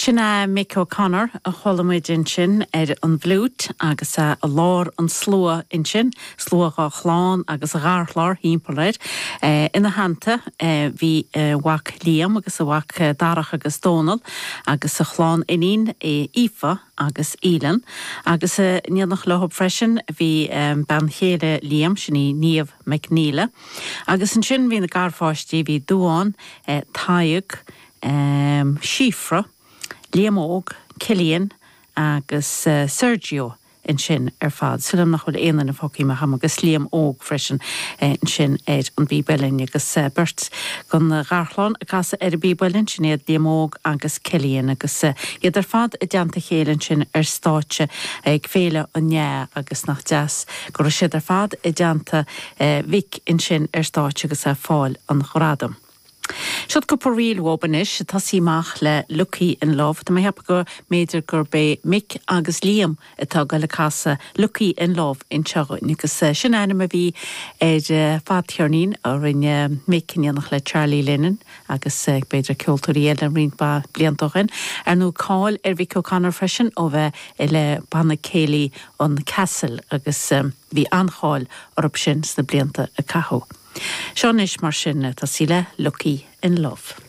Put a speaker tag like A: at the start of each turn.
A: Sin é Mick O'Connor a chuala muid ansin ar an bhfliúit agus é i lár an tslua ansin, slua dá chlann agus a gharchlann thimpeall air. Ina theannta bhí a mhac Liam agus a mhac Darach agus Dónal agus a chlann iníon Aoife agus Aoileann. Agus in éineacht leo freisin bhí bean chéile Liam, sin í Niamh McNeela. Agus ansin bhí na garpháistí, bhí Dubhán, Tadhg, Síofra, Liam Óg, Cillian agus Sergio ansin ar fad. Súil agam nach bhfuil aon duine fágtha amach agam agus Liam Óg freisin ansin ar an bpíb uilleann agus beirt den gharchlann ag casadh ar an bpíb uilleann, sin iad Liam Óg agus Cillian agus iad ar fad i dteannta a chéile ansin ar stáitse ag Féile an Fhleadh agus nach deas go raibh siad ar fad i dteannta Mhick ansin ar stáitse agus é ag fáil an ghradaim. Siod cúpla ríl uathub anois, ag tosaí amach le Lucky in Love. Tá mé ag ceapadh go mb'fhéidir gurb é Mick agus Liam atá ag goil ag casadh Lucky in Love anseo dhúinn agus sin ainm a bhí ar fadcheirnín a rinne Mick in éineacht le Charlie Lennon agus b'fhéidir ceoltóirí eile roinnt mhaith blianta ó shin. Ar ndóigh cáil ar Mhick O'Connor freisin ó bheith le Banna Céilí an Castle agus bhí an-cháil orthu sin sna blianta a caitheadh. Seo anois mar sin, tosaí le Lucky in Love.